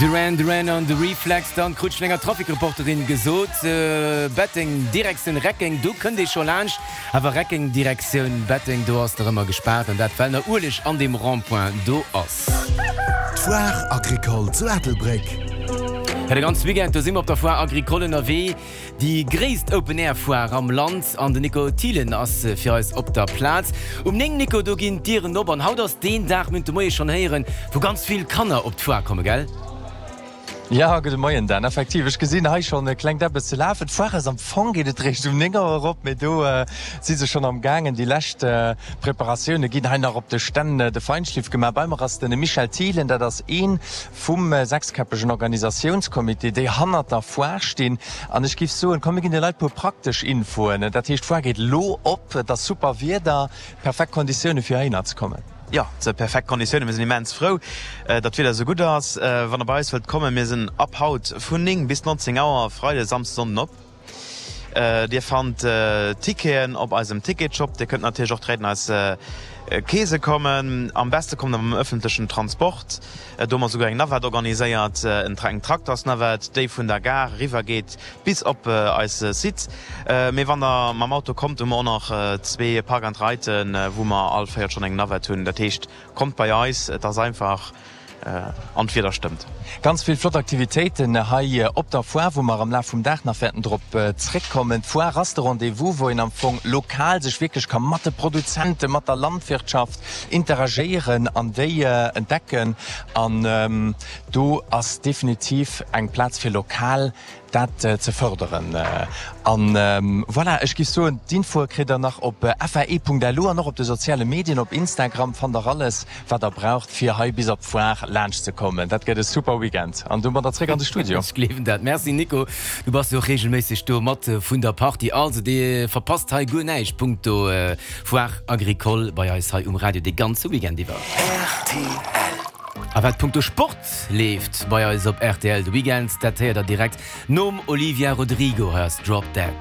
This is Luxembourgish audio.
Duran Duran an The Reflex, dann krut ech vun enger Trafikreporterin gesot, Betteng Direktioun Reckeng, do kënnt ee scho laanscht, awer Reckeng Direktioun Betteng, do ass nach ëmmer gespaart, an dat well nach Ueleg an deem Rond-point do ass. D'Foire Agricole zu Ettelbréck. Jo, de ganze Weekend, do si mer op der Foire Agricole ënnerwee. Déi gréisst Open Air Foire am Land an den Nico Thielen ass fir eis op der Plaz. Um 9, Nico, do ginn d'Dieren op an haut ass deen Dag, mir hunn et de Moie schonn héieren, wou ganz vill Kanner op d'Foire kommen, gell? Jo, gudde Moien Dan. Effektiv, ech gesinn hei schonn e klengt Eppes ze lafen. D'Foire ass am Fong geet et réischt um 9 Auer erop, mee do si se schonn am gaangen. Déi lescht Preparatioune ginn hei nach op de Stänn de Feinschliff gemaach. Bei mer ass de Michel Thielen, dat ass ee vum sechskäppegen Organisatiounscomité, déi hannert der Foire stinn. An ech giff soen, komm mir ginn de Leit puer praktesch Infoen. Dat heescht, d'Foire geet elo op, et ass super Wieder, perfekt Konditioune fir heihinner ze kommen. Jo, et si perfekt Konditiounen. Mir sinn immens frou, datt d'Wieder esou gutt ass. Wann der bei eis wëllt kommen, mir sinn ab haut vun 9 bis 19 Auer, Freide, Samsde, Sonnden op. Dir fannt Ticketen op eisem Ticketshop. Dir kënnt natierlech och direkt an eis Keese kommen. Am beste kommt der mam ëffentlechen Transport. Do hu mer souguer eng Navette organiséiert, eng Traktersnavette, déi vun der Gare eriwwer geet bis op eise Site. Mee wann der mam Auto kommt, hu mer och nach zwee Park and Riden, wou mer all Véierelstonn eng Navette hunn. Dat heescht, kommt bei eis, et ass einfach. An d'Wieder stëmmt. Ganz vill flott Aktivitéiten hei op der Foire, wou mer am Laf vum Dag nach wäerten drop zréckkommen. D'Foire ass de Rendez-vous, wou een am Fong lokal sech wierklech ka mat de Produzenten, mat der Landwirtschaft interagéieren an déi entdecken. An do ass definitiv eng Plaz fir lokal dat ze fërderen. An voilà, ech giff soen, d'Infoe kritt der nach op fae.lu an och op de soziale Medien, op Instagram fannt der alles, wat der braucht, fir hei bis op d'Foire laanscht ze kommen. Dat gëtt e super Weekend an domadder zréck an de Studio. Ech gleewen dat. Merci Nico, du bass jo och reegelméisseg do mat vun der Partie. Also dir verpasst hei guer näischt punkto Foire Agricole bei eis hei um Radio dee ganze Weekend iwwer. Rtl. A wat punkto Sport leeft bei eis op rtl de Weekend, dat héiert der direkt nom Olivia Rodrigo. Hei ass Drop Dead.